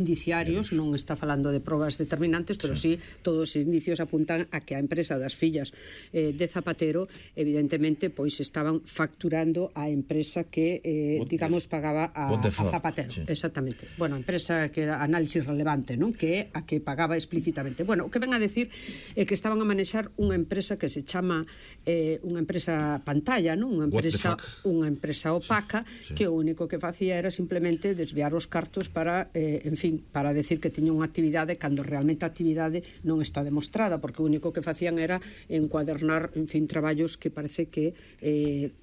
indiciarios, non está falando de probas determinantes, pero sí todos os indicios apuntan a que a empresa das fillas de Zapatero evidentemente pois estaban facturando a empresa que digamos pagaba a Zapatero. Exactamente. Bueno, a empresa que era Análisis Relevante, non? Que é a que pagaba explícitamente. Bueno, o que ven a decir é que estaban a manexar unha empresa que se chama unha empresa pantalla, non? Unha empresa opaca que o único que facía era simplemente desviar os cartos para, en fin, para decir que tiña unha actividade cando realmente a actividade non está demostrada, porque o único que facían era encuadernar, en fin, traballos que parece que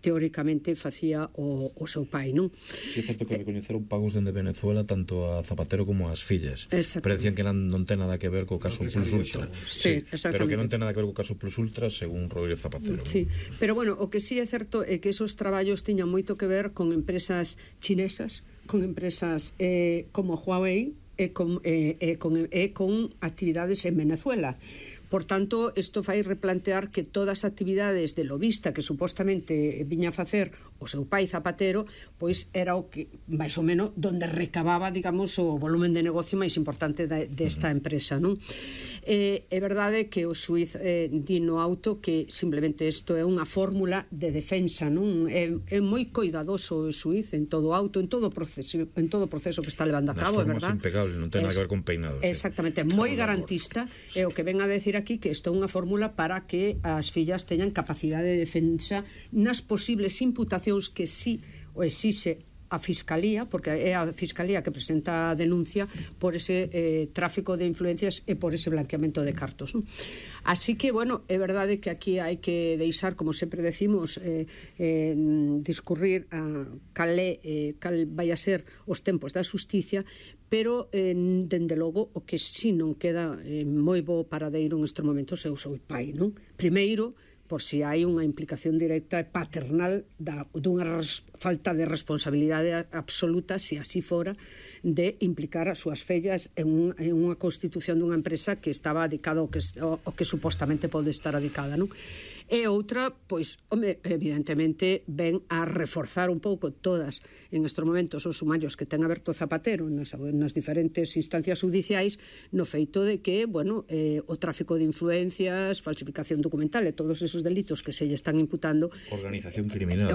teóricamente facía o seu pai, non? Si é certo que recoñeceron pagos dende Venezuela tanto a Zapatero como ás fillas, pero decían que non ten nada que ver co caso Plus Ultra. Sí, pero que non ten nada que ver co caso Plus Ultra según Rodríguez Zapatero. Sí, pero bueno, o que sí é certo é que esos traballos tiñan moito que ver con empresas chinesas, con empresas como Huawei e con actividades en Venezuela. Por tanto, isto fai replantear que todas as actividades de lobista que supostamente viña a facer o seu pai Zapatero, pois era o que, máis ou menos, donde recababa, digamos, o volumen de negocio máis importante desta empresa, non? É verdade que o xuiz di no auto que simplemente isto é unha fórmula de defensa, non? É moi coidadoso o xuiz en todo o auto, en todo o proceso que está levando a cabo, é verdade? Nas formas impecables, non ten nada que ver con peinados. Exactamente, moi garantista, é o que ven a decir aquí que isto é unha fórmula para que as fillas teñan capacidade de defensa nas posibles imputacións que sí o exixe a Fiscalía, porque é a Fiscalía que presenta a denuncia por ese tráfico de influencias e por ese blanqueamento de cartos, non? Así que, bueno, é verdade que aquí hai que deixar, como sempre decimos, discurrir cal vai a ser os tempos da xusticia, pero, dende logo, o que si non queda moi bo paradeiro nestes momentos é o seu pai, non? Primeiro, por si hai unha implicación directa e paternal dunha falta de responsabilidade absoluta, se así fora, de implicar as súas fillas en unha constitución dunha empresa que estaba dedicada ao que supostamente pode estar dedicada, non? E outra, pois, home, evidentemente ven a reforzar un pouco todas en estes momentos os sumarios que ten aberto Zapatero nas diferentes instancias judiciais no feito de que, bueno, o tráfico de influencias, falsificación documental e todos esos delitos que se lle están imputando, organización criminal,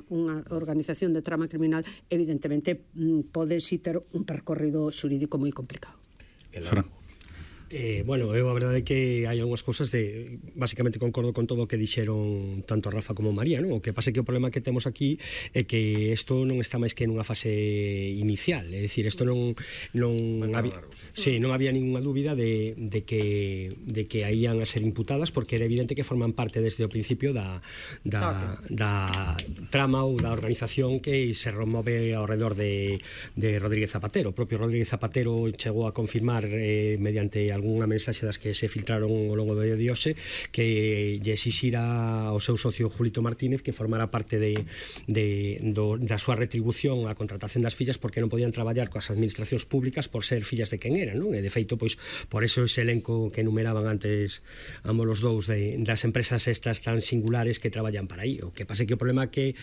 unha organización de trama criminal, evidentemente pode si ter un percorrido xurídico moi complicado. Bueno, eu a verdade é que hai algunhas cousas basicamente concordo con todo o que dixeron tanto a Rafa como a María, non? O que pasa é que o problema que temos aquí é que isto non está máis que nunha fase inicial, é dicir, isto non había ninguna dúbida de que aí ian a ser imputadas, porque era evidente que forman parte desde o principio da trama ou da organización que se remove ao redor de Rodríguez Zapatero. O propio Rodríguez Zapatero chegou a confirmar mediante algunha mensaxe das que se filtraron ao longo do día de hoxe que lle exixira ao seu socio Julito Martínez que formara parte da súa retribución á contratación das fillas, porque non podían traballar coas administracións públicas por ser fillas de quen eran, non? E de feito, pois, por eso ese elenco que enumeraban antes ambos os dous das empresas estas tan singulares que traballan para aí. O que pasa é que o problema que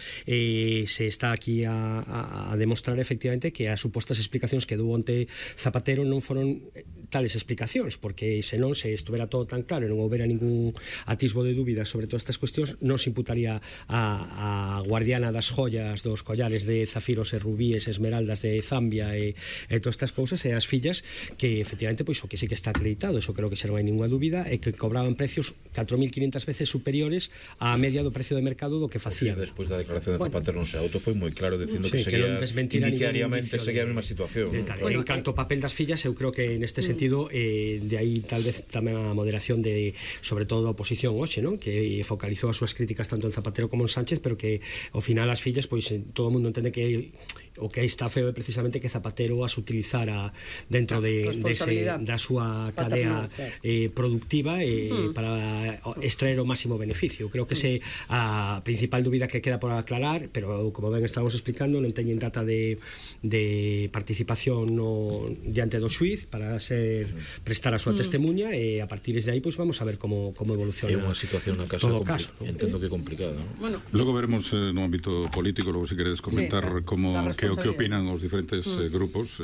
se está aquí a demostrar efectivamente que as supostas explicacións que dou onte Zapatero non foron tales explicacións, porque senón, se estuvera todo tan claro e non houbera ningún atisbo de dúbida sobre todas estas cuestións, non se imputaría a guardiana das joyas, dos collares de zafiros e rubíes, esmeraldas de Zambia e todas estas cousas, e as fillas que efectivamente, pois, o que sí que está acreditado, eso creo que xa non hai ninguna dúbida, é que cobraban precios 4.500 veces superiores á media do precio de mercado do que facían. Despois da declaración de Zapatero non se auto foi moi claro dicindo que seguía indiciariamente seguía a mesma situación. En canto ao papel das fillas, eu creo que neste sentido de aí tal vez tamén a moderación de, sobre todo, da oposición hoxe, non? Que focalizou as súas críticas tanto en Zapatero como en Sánchez, pero que ao final as fillas, pois, todo o mundo entende que o que está feo é precisamente que Zapatero as utilizara dentro da súa cadea productiva para extraer o máximo beneficio. Creo que ese a principal dúbida que queda por aclarar, pero como ben estamos explicando, non teñen data de participación diante do xuiz para prestar a súa testemuña, e a partir de aí pois vamos a ver como evoluciona. É unha situación na casa entendo que complicada, non? Bueno, logo veremos no ámbito político, logo se queredes comentar como que opinan os diferentes grupos,